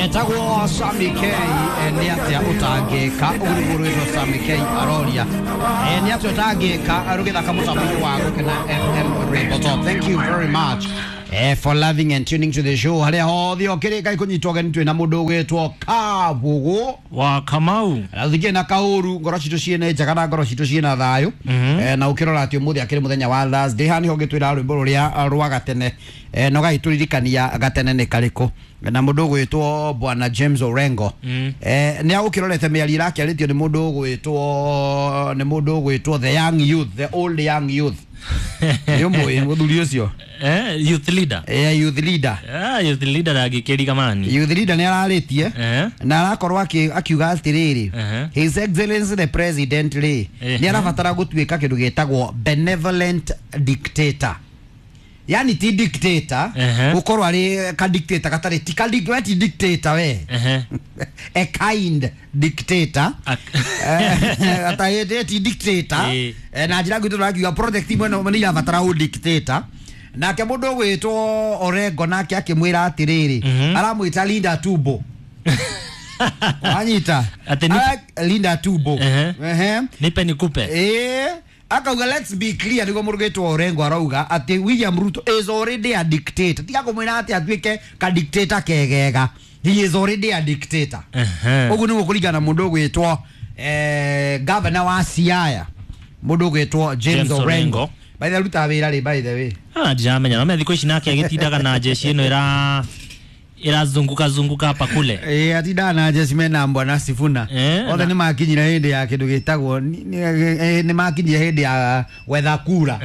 Etagwo Sami K, nĩ atĩa ũtangĩka? Ũguo nĩguo rwĩtwo Sami K aroria, nĩ atĩa ũtangĩka rũgĩthaka mũtambo-inĩ wa Gũkena FM Rainbow Top. Thank you very much for loving and tuning to the show. Harĩa hothe ũkĩrĩ ngai kũnyitwo ũgeni, twĩna mũndũ ũgwĩtwo Kabũgũ wa Kamau. Na thingie na kaũru, ngoro citũ ciĩna njega na ngoro citũ ciĩna thayũ. Na ũkĩrora atĩ ũmũthĩ akĩrĩ mũthenya wa Thursday, haha nĩho ũngĩtwĩra rwĩmbo rũrĩa rwa gatene, na ũgagĩtũririkania gatene nĩ karĩkũ. Na mũndũ ũgwĩtwo Bwana James Orengo, nĩ agũkĩrorete mĩario ĩrakĩarĩtio nĩ mũndũ ũgwĩtwo, nĩ mũndũ ũgwĩtwo the young youth, the old young youth. Nĩ ũmũĩ mũthuri ũcio? Youth leader. Youth leader. Youth leader ndangĩkĩriga mani. Youth leader nĩ ararĩtie na arakorwo akiuga atĩrĩrĩ, His Excellency the President rĩ, nĩ arabatara gũtuĩka kĩndũ gĩtagwo benevolent dictator, yani ti dictator, gũkorwo arĩ ka dictator gatarĩ ti ka we ti dictator we, a kind dictator. Atahĩndĩ ti dictator. Na njĩra ngwitũ tũrakiuga project imwe nĩ irabatara ũ dictator. Nake mũndũ ũgwĩtwo Orengo nake akĩmwĩra atĩrĩrĩ, aramwĩta Linda Tumbo, wanyita? Atĩ Linda Tumbo. Ehe. Nipe nikupe. Akauga, let's be clear, nĩguo mũndũ ũgwĩtwo Orengo arauga atĩ William Ruto is already a dictator. Tiga kũmwĩra atĩ atuĩke ka dictator kegega, he is already a dictator. Ũguo nĩguo kũringana na mũndũ ũgwĩtwo governor wa Siaya, mũndũ ũgwĩtwo James James Orengo. Orengo. By the way, arutaga wĩra rĩ, by the way? Ah, ndiramenya, no thikũ ici nake agĩtindaga na jeshi ĩno ĩra ĩrazunguka zunguka hapa kule. Atindaga na jeshi mena Bwana Sifuna. Othe nĩ makinyire hĩndĩ ya kĩndũ gĩtagwo nĩ makinyire hĩndĩ ya gwetha kura.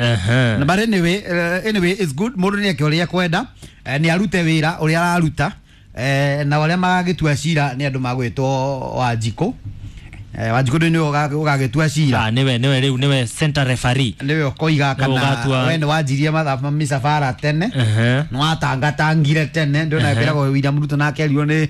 Na but anyway, anyway, it's good mũndũ nĩ eke ũrĩa ekwenda, nĩ arute wĩra ũrĩa araruta, na arĩa magagĩtua cira nĩ andũ magwĩtwo Wanjikũ. Wanjikũ nĩwe ũgagĩtua cira. Ah, nĩwe rĩu nĩwe center referee. Nĩwe ũkoiga kana ũgatua. We nĩ wanjirie mathaa mĩcabara tene, nĩ watangatangire tene. Ndio kwĩragwo William Ruto nake erirwo nĩ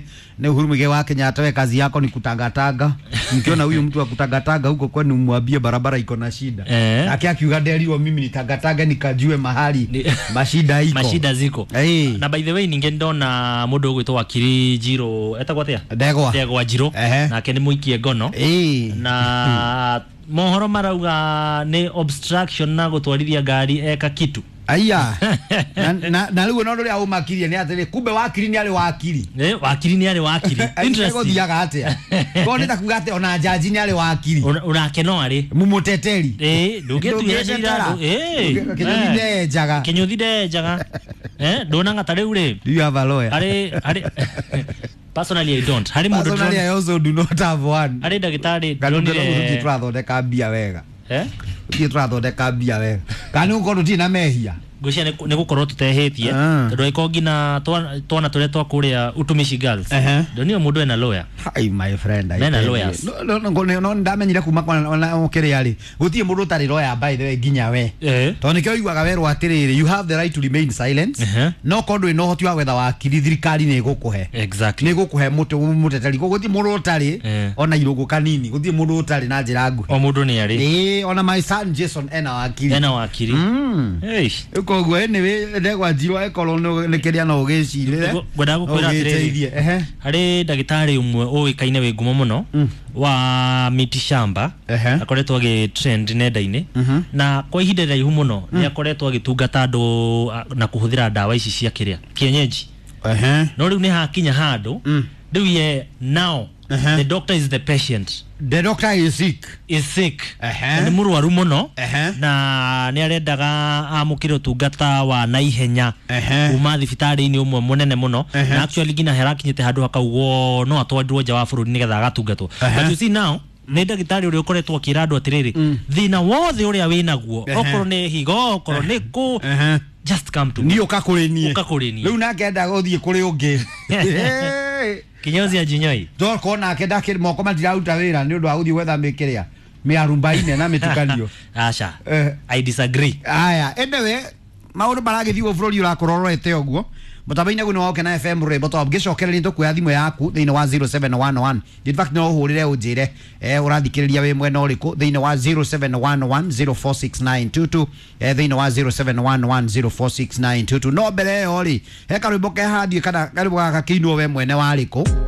Uhuru Muigai wa Kenyatta, we kazi yako ni kutangatanga, mkiona huyu mtu wa kutangatanga huko kwenu mwambie barabara iko na shida. Nake akiuga nderirwo mimi nitangatanga nikajue mahali mashida iko. Mashida ziko. Na by the way, ningĩ ndona mũndũ ũgwĩtwo wakiri Njirũ, etagwo atĩa? Ndegwa. Ndegwa Njirũ. Nake nĩ mũikie ngono. Na mohoro marauga nĩ obstruction na gũtwarithia ngari eka kitu. Aya, na rĩu no ũrĩa ũmakirie nĩ atĩrĩ, kumbe wakiri nĩ arĩ wakiri. Wakiri nĩ arĩ wakiri. Interesting. Gũthiaga atĩa korwo nĩ ta kuga atĩ ona jaji nĩ arĩ wakiri? Onake no arĩ. Mumuteteri. Ndũngĩtuĩra cira. Kĩnyũthi ndenjaga. Kĩnyũthi ndenjaga. Ndonaga ta rĩu rĩ. Do you have a lawyer? Harĩ personally I don't. Harĩ mũndũ Personally, I also do not have one. Harĩ ndagĩtarĩ Kana ndonire tũthiĩ tũrathondeka mbia wega. Eh? Tũthiĩ tũrathondeka mbia wega, kana nĩ gũkorwo tũtirĩ na mehia? Ngwĩciria nĩ gũkorwo tutehĩtie, tondũ angĩkorwo nginya twana tũrĩa twa kũrĩa Utumishi Girls, ndonire mũndũ ena lawyer. Hi my friend, I Mena tell you. lawyers. No, no, no, no, ndamenyire kuma kwa ona kĩrĩa rĩ, gũtirĩ mũndũ ũtarĩ lawyer, by the way, nginya we. Tondũ nĩkĩo ũiguaga werwo atĩrĩrĩ, you have the right to remain silent. No korwo ndũrĩ na ũhoti wa gwetha wakiri, thirikari nĩ ĩgũkũhe. Nĩ ĩgũkũhe mũteteri. Koguo gũtirĩ mũndũ ũtarĩ ona irũngũ kanini, gũtirĩ mũndũ ũtarĩ na njĩra nguhĩ. O mũndũ nĩ arĩ. Ona my son Jason ena wakiri. Ena wakiri. Eish. Rĩu koguo anyway, Ndegwa Njirũ, ĩkorwo nĩ kĩrĩa no ũgĩcirĩre. Ngwendaga gũkwĩra atĩrĩrĩ, Ũgĩteithie. Harĩ ndagĩtarĩ ũmwe ũĩkaine wĩ ngumo mũno wa miti shamba, akoretwo agĩ trend nenda-inĩ, na kwa ihinda iraihu mũno nĩ akoretwo agĩtungata andũ na kũhũthĩra ndawa ici cia kĩrĩa kienyeji. No rĩu nĩ hakinya handũ rĩu ye now the doctor is the patient. The doctor is sick. Is sick. Na nĩ mũrwaru mũno, na nĩ arendaga amũkĩre ũtungata wa naihenya kuma thibitarĩ-inĩ ũmwe mũnene mũno. Na actually nginya harakinyĩte handũ hakaugwo no atwarirwo nja wa bũrũri nĩgetha agatungatwo. But you see now nĩ ndagĩtarĩ ũrĩa ũkoretwo akĩra andũ atĩrĩrĩ, thĩna wothe ũrĩa wĩnaguo, okorwo nĩ higo, okorwo nĩ kũ, just come to me. Niĩ ũka kũrĩ niĩ. Ũka kũrĩ niĩ. Rĩu nake endaga ũthiĩ kũrĩ ũngĩ. Kinyozi ajinyoi. Tokorwo nake ndakĩrĩ moko matiraruta wĩra nĩ ũndũ wa gũthiĩ gwetha mĩkĩrĩa mĩarumbaine na mĩtukanio. Aca. I disagree. Aya, anyway, maũndũ maragĩthiĩ ũguo, bũrũri ũrakorwo ũrorete ũguo. Mũtambo-inĩ guo nĩ wa Ũkena FM rwĩmbo top. Ngĩcokereria tũkuoya thimũ yaku thĩinĩ wa 0711. In fact, no ũhũrĩre ũnjĩre ũrathikĩrĩria wĩ mwena ũrĩkũ thĩinĩ wa 0711046922, thĩinĩ wa 0711046922. No mbere ĩyo rĩ, he karwĩmbo kehandie kana karwĩmbo gaka kĩinwo we mwene warĩkũ.